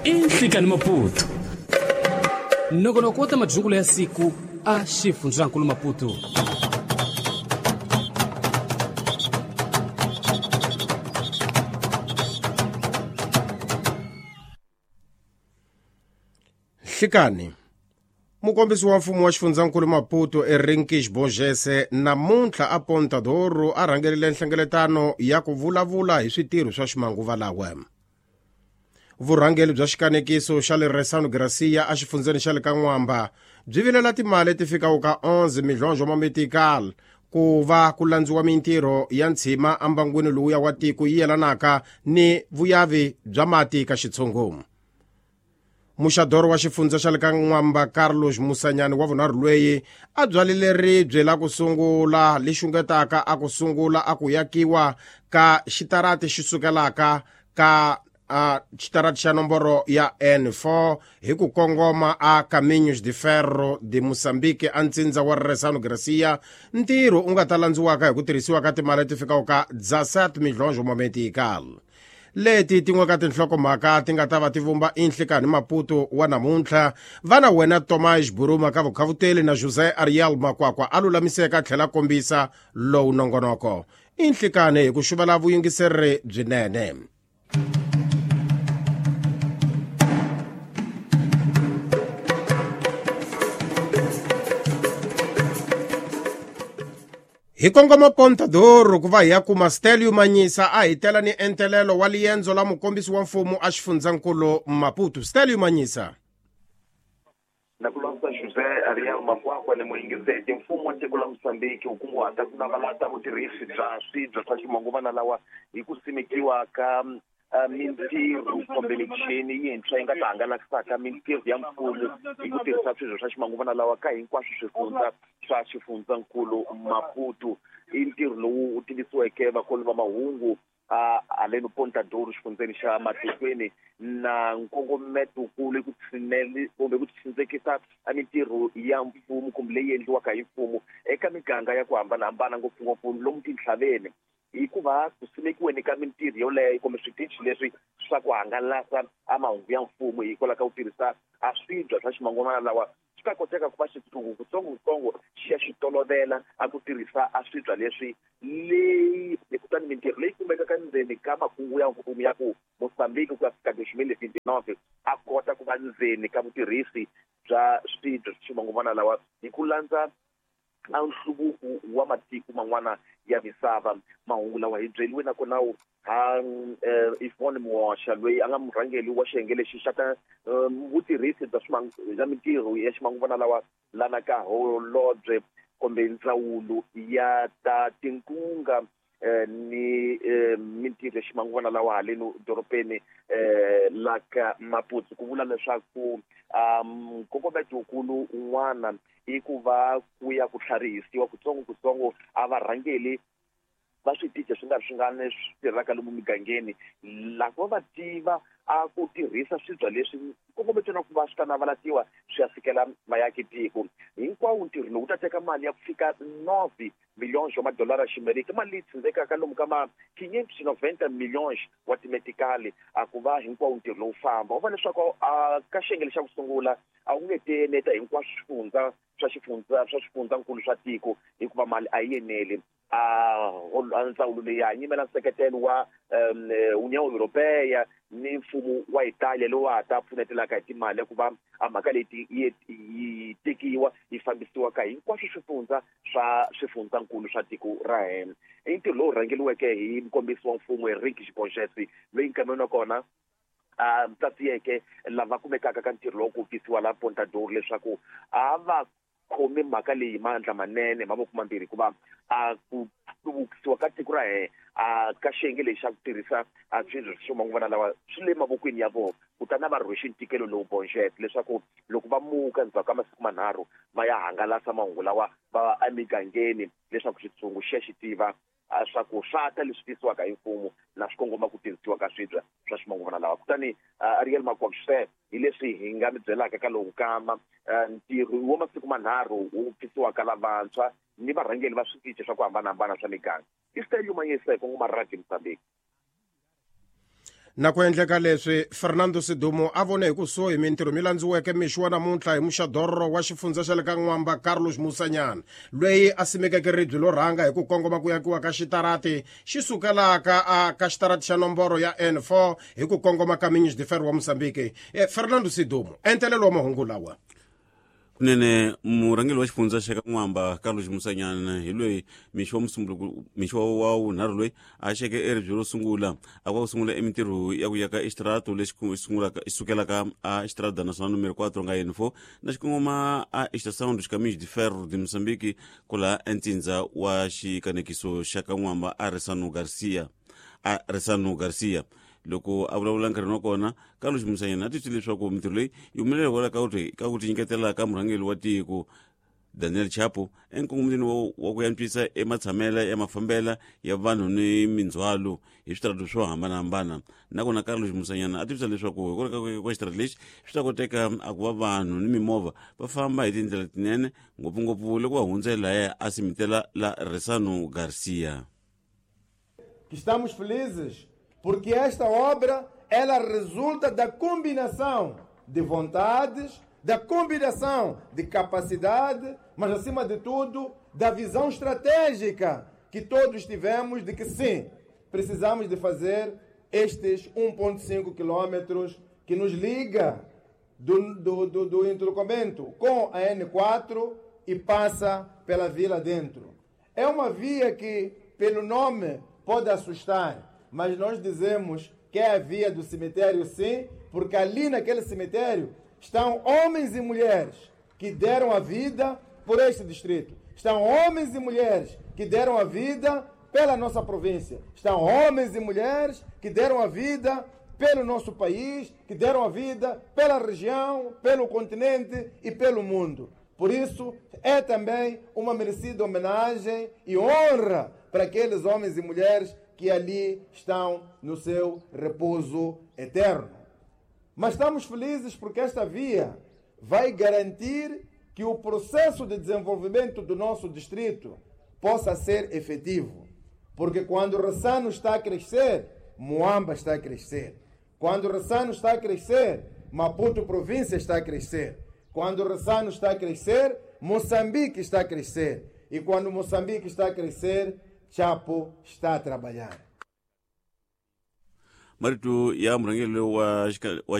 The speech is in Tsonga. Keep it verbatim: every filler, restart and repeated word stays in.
Inhlikani Maputo. Nongonoko wa ta majungulo ya siku a xifundzankulu Maputo. Nhlikani mukombisi wa mfumo wa xifundzankulu Maputo Henriques Borges namuntlha a Ponta do Ouro a rhangerile nhlengeletano ya ku vulavula hi switirho swa ximanguva lawa. Vurhangeri bya xikanekiso xa le Ressano Garcia a xifundzeni xa le ka N'wamba byi vilela timali ti fikaka ka onze milhonjo ma metical ku va ku landziwa mintirho ya ntshima embangwini lowuya wa tiko yi yelanaka ni vuyavi bya mati ka xitshungu. Muxadoro wa xifundza xa le ka N'wamba Carlos Musanyani wa vunharhu lweyi a byalile ribye la ku sungula li xungetaka a ku sungula a ku yakiwa ka xitarati xi sukelaka ka a xitarati xa nomboro ya N four hi ku kongoma a Caminhos de Ferro de Moçambique a ntsindza wa Ressano Garcia, ntirho u nga ta landziwaka hi ku tirhisiwa ka timali ti fikaka ka dezessete milhonjo ma metical. Leti tin'we ka tinhlokomhaka ti nga ta va ti vumba Inhlikani Maputo wa namuntlha. Vana wena Tomás Buruma ka vukhavuteli na José Ariel Makwakwa a lulamiseka a tlhela kombisa lowu nongonoko. Inhlikani hi ku xuvela vuyingiseri byinene. Hi kongoma Ponta do Ouro ku va hi ya kuma Stelio Manyisa a hi tela ni entelelo wa liendzo la mukombisi wa mfumo a xifundzankulu Maputo. Stelio Manyisa. Na ku languta José Ariel Makwakwa ni muyingiseti, mfumo wa tiko la Mozambique wu kunguhata ku navalata vutirhisi bya swibya swa ximanguvana lawa hi ku simekiwa ka mintirho kumbe michini yintshwa yi nga ta hangalakisaka mintirho ya mfumo hi ku tirhisa swibya swa ximanguvana lawa ka hinkwaswo swifundza swa xifundzankulu Maputo. I ntirho lowu wu tivisiweke vakoli va mahungu a haleno Ponta do Ouro xifundzeni xa Matikweni na nkongometokulu ku tshineli kumbe ku tsindzekisa mintirho ya mfumo kumbe leyi endliwaka hi mfumo eka miganga ya ku hambanahambana, ngopfungopfu lomu tintlhaveni, hikuva ku simekiweni ka mintirho yoleyo kumbe switichi leswi swa ku hangalasa a mahungu ya mfumo hikwalaho ka ku tirhisa a swibya swa ximanguvana lawa swi ta koteka ku va xitshungu kutsongokutsongo xi ya xi tolovela a ku tirhisa a swibya leswi leyi kutani mintirho leyi kumekaka ndzeni ka makungu ya mfumo ya ku Mozambique ku ya fika dois mil e vinte e nove a kota ku va ndzeni ka vutirhisi bya swibya swa ximanguvana lawa hi ku landza a nhluvuko wa matiko man'wana ya misava. Mahungu lawa hi byeliwe nakona ha Yvonne Muosha loyi a nga murhangeri wa xiyenge lexi xa ta vutirhisi bya bya mintirho ya ximanguvana lawa lana ka holobye kumbe ndzawulo ya ta tinkunga ni mintirho ya ximanguvana lawa haleno dorobeni la ka Maputo, ku vula leswaku nkongometokulu un'wana i ku va ku ya ku tlharihisiwa kutsongokutsongo a varhangeli va switichi swi nga ri swingani swi tirhaka lomu migangeni lava va tiva a ku tirhisa swibya leswi nkongometo na ku va swi ta navalatiwa swi ya fikela vaakatiko hinkwawo. Ntirho lowu ta teka mali ya ku fika nove milhões wa madolara ximerika, mali leyi tsindzekaka lomu ka ma quinhentos e noventa milhões wa timetikali a ku va hinkwawo ntirho lowu famba. U va leswaku a ka xiyenge xa ku sungula a wu nge tieneta hinkwaswo swifundza swa xifundza swa xifundzankulu swa tiko hikuva mali a yi eneli. A ndzawulo leyi ya yimela nseketelo wa União Europeia ni mfumo wa Italia lowu ha ta pfunetelaka hi timali ya ku va a mhaka leyi yi tekiwa yi fambisiwa ka hinkwaswo swifundza swa swifundzankulu swa tiko ra hina. I ntirho lowu rhangeriweke hi mukombisi wa mfumo Henriques Borges loyi nkameni wa kona a tsatsiyeke lava kumekaka ka ntirho lowu ku tisiwa la Ponta do Ouro leswaku a va khomi mhaka leyi mandla manene mavoko mambirhi hikuva a ku hluvukisiwa ka tiko ra hina a ka xiyenge lexi xa ku tirhisa a swibya swa ximanguvana lawa swi le mavokweni ya vona, kutani a va rhwexe ntikelo lowu Borges leswaku loko va muka endzhaku ka masiku manharhu va ya hangalasa mahungu lawa va emigangeni leswaku xitshungu xi ya xi tiva swa ku swa ta leswi tisiwaka hi mfumo na swi kongoma ku tirhisiwa ka swibya swa ximanguvana lawa. Kutani Ariel Makwakwa hi leswi hi nga mi byelaka ka lowu nkama ntirho wa masiku manharhu wu pfisiwaka lavantshwa ni varhangeri va switichi swa ku hambanahambana swa miganga. I Stelio Manyisa hi kongoma Radio Mozambique. Na ku endleka leswi Fernando Sidumo a vone hi kusuhi mintirho mi landziweke mixo wa namuntlha hi muxadorro wa xifundza xa le ka N'wamba Carlos Musanyana loyi a simekeke ribye lo rhanga hi ku kongoma ku yakiwa ka xitarati xi sukelaka a ka xitarati xa nomboro ya N four hi ku kongoma ka Minhos de Ferro wa Mozambique. Fernando Sidumo, entelelo wa mahungu lawa. Kunene murhangeri wa xifundza xa ka N'wamba Carlos Musanyana hi loyi mixo wa musunguluko mixo wa wunharhu loyi a xeke eribye ro sungula a ku sungula emintirho ya ku yaka extrato lexi sungulaka sukelaka a Estrada Nacional número quatro nga N four na xikongoma a Estação dos Caminhos de Ferro de Moçambique kula entsindza wa xikanekiso xa ka N'wamba a Resano Garcia a Resano Garcia. Loko a vulavula nkarhini wa kona Carlos Musanyana a titwi leswaku mintirho leyi yi humelela hikwalaho ka ku ka ku tinyiketela ka murhangeri wa tiko Daniel Chapo enkongomeni wa ku antswisa ematshamela ya mafambela ya vanhu ni mindzhwalo hi switarati swo hambanahambana. Nakona Carlos Musanyana a tivisa leswaku hikwalaho ka xitarati lexi swi ta koteka a ku va vanhu ni mimovha va famba hi tindlela tinene ngopfungopfu loko va hundza lahaya a simitela la Resano Garcia. Estamos felizes porque esta obra, ela resulta da combinação de vontades, da combinação de capacidade, mas acima de tudo, da visão estratégica que todos tivemos de que sim, precisamos de fazer estes um ponto cinco quilômetros que nos liga do, do, do, do entroncamento com a N quatro e passa pela vila dentro. É uma via que, pelo nome, pode assustar, mas nós dizemos que é a via do cemitério, sim, porque ali naquele cemitério estão homens e mulheres que deram a vida por este distrito. Estão homens e mulheres que deram a vida pela nossa província. Estão homens e mulheres que deram a vida pelo nosso país, que deram a vida pela região, pelo continente e pelo mundo. Por isso, é também uma merecida homenagem e honra para aqueles homens e mulheres que ali estão no seu repouso eterno. Mas estamos felizes porque esta via vai garantir que o processo de desenvolvimento do nosso distrito possa ser efetivo. Porque quando o Ressano está a crescer, Moamba está a crescer. Quando o Ressano está a crescer, Maputo província está a crescer. Quando o Ressano está a crescer, Moçambique está a crescer. E quando Moçambique está a crescer, Chapo está a trabalhar. Marito ya murhangeri wa wa